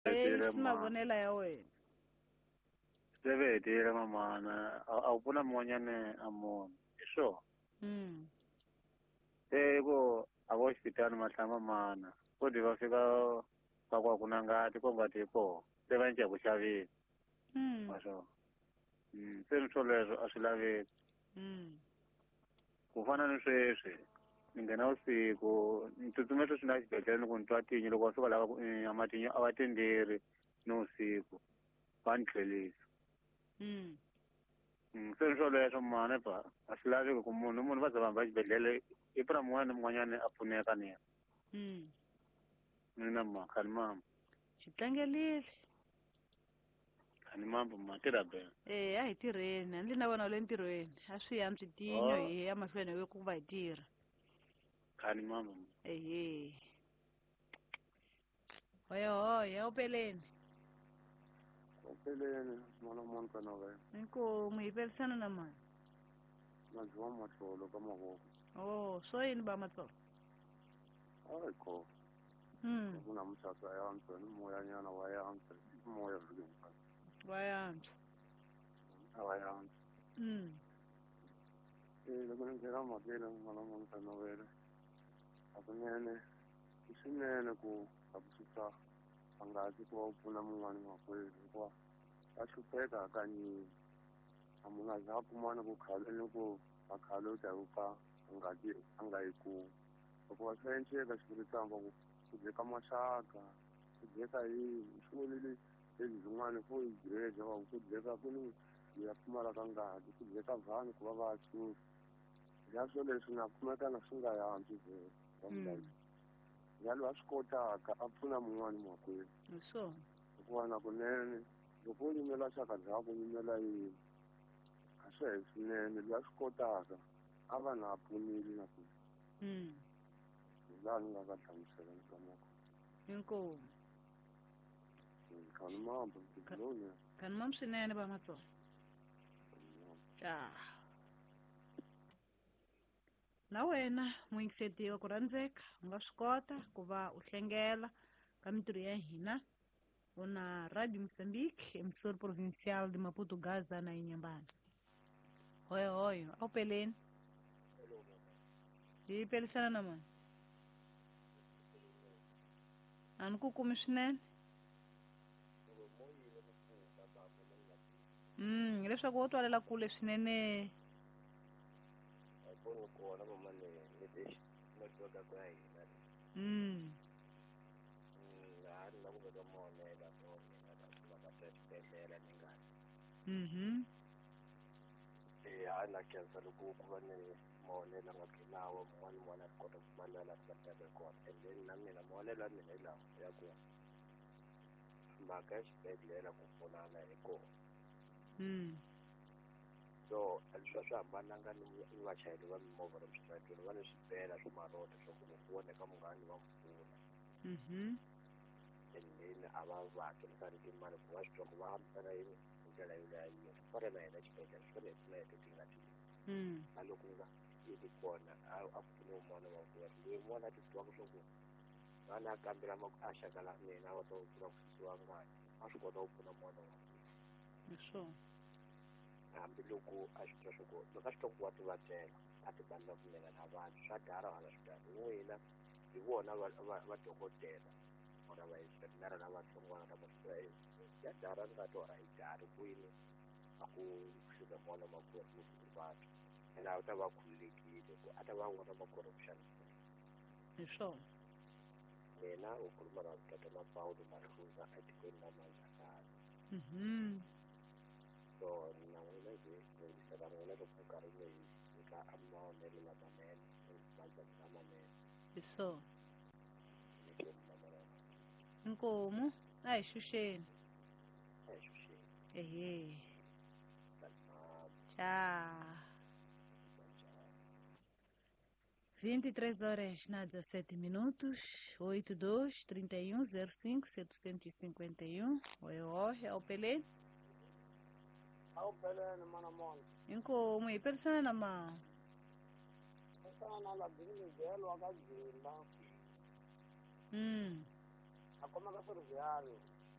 Hetile mavonela ya wena. Se ve hetile mamana, a wu pfuna mun'wanyana a munhu. Hi swona. Se ku a vo xipitali mahlamba mana. Kodi va fika va ku a ku na ngati, ko ngati yi kona. Se va cinca ku xavisa. Wa swona. Se ni swoleswo a swi laveki. Ku fana ni sweswi, ni nghena vusiku, ni tsutsuma sweswi na xibedhlele ni ku ni twa tinyo, loko va fika lava ku a matinyo a va tenderi ni vusiku, va ni tlhelisa. Se ni swoleswo mhani ba, a swi laveki ku munhu munhu va za va hamba xibedhlele, i pfuna mun'wana ni mun'wanyana a pfuneka ni yena. Mina ma, khani mama. Hi tlangelile. Khani mama, ma tirha bene. Eh, a hi tirheni, a ni na vona le ntirhweni. A swi antswi tinyo hi ya mahlweni hi ku va hi tirha. Khani mama. Ehe. Hoya hoya, upeleni. Upeleni, mwana Monica na wena. Inkomu hi pelisana na mani? Madziwa matsolo ka mavoko. Oh, swo yini ba matsolo? Hayi ko. Kuna mutsatsa ya antswa ni moyanyana wa ya antswa, moya vhiki hinkwayo. Wa ya antswa. A wa ya antswa. Eh, loko ni nghena mhakeni mwana Monica na wena. Hakunene i swinene ku a ku susa ngati ku va u pfuna mun'wani makwerhu hikuva va hlupheka hakanyingi. A munhu a za a kumana ku khale ni ku a khale u ta yi pfa ngati a nga yi kumi. Hikuva swa endleka xivuritamba ku ku dyeka maxaka, ku dyeka yini, swi vonile lebyi byin'wana fo yi dyeka va ku dyeka ku ni ya pfumalaka ngati, ku dyeka vanhu ku va va susa. Ya swo leswi na kumeka na swi nga yantswi vhele. Ya loyi a swi kotaka a pfuna mun'wani makwerhu. Hi swona. Hikuva na kunene loko u yimela xaka ryaku u yimela yini, a swi he swinene. Loyi a swi kotaka a va na a pfunile na ku. Hi laha ni nga ka hlamusela ni twanaka. Inkomu. Khani mambo, ntirho. Khani mambo swinene va Matsonga. Cha. Na wena muyingiseti wa ku rhandzeka u nga swi kota ku va u hlengela ka mintirho ya hina u na Radio Moçambique, emissora provincial de Maputo, Gaza na Inhambane. Hoyo hoyo, a wu peleni. Hi pelisana na mani? A ni ku kumi swinene. Hileswaku wo twalela kule swinene. Kona mama ni network ya hina. Ha ni la ku veka mavonelo mo mina la ku va ka xibedhlele ni nga. Eh, ha na khensa loko ku va ni mavonelo nga lawa mun'wana mun'wana a kota ku kuma la ku va kona. And then na mina mavonelo ya mina hi lawa ya ku mhaka ya xibedhlele ku pfunana hi kona. So leswi a swi hambananga ni vachayeri va mimovha lomu switarateni va ni swibela swa marota swa ku loko voneka munghana va n'wi pfuna. And then a va va hakerisani timali ku va swi twa ku va hambisana yini hi ndlela yo leha yini. Swi fana na hina xibedhlele swi fanele hi pfuna hi leti nga ti. Na loko nga yi ri kona a pfune un'wana wa kona loyi un'wana a titwaka swa ku vana a kambela a xaka la mina va ta ku pfuna ku susiwa ngati a swi kota ku pfuna n'wana wa kona. Hi swona. Hambi loko a swi twa swa ku loko a swi twa ku wa tivabyela a ti bandla ku mina na vabyi swa dara hala swi dara n'wina hi vona va dokodela vona va inspector lavatsongwana lava swi ya dara ngati or a yi dari kwini a ku fika n'wana makwerhu loko u vabya ene a ta va khululekile ku a ta va vona makwerhu ku xanisiwa. Hi swona. Mina u khuluma na tata Paulo Mahluza etikweni la Manzakala. So na n'wina njhe yingisela n'wina loko nkarhi mi nyika mavonelo lamanene mazana lamanene. Hi swona. Inkomu a hi xuxeni. A hi xuxeni. Ehe. Tchau. 23 horas na 17 minutos, 82 31 05 751. Oi, oi, é o Pelé. É o Pelé, mano, mano. Inkomu, hi pelisana na ma. Pelisana na la Bini Miguel wa ka Dzimba. A khoma ka Ferroviário.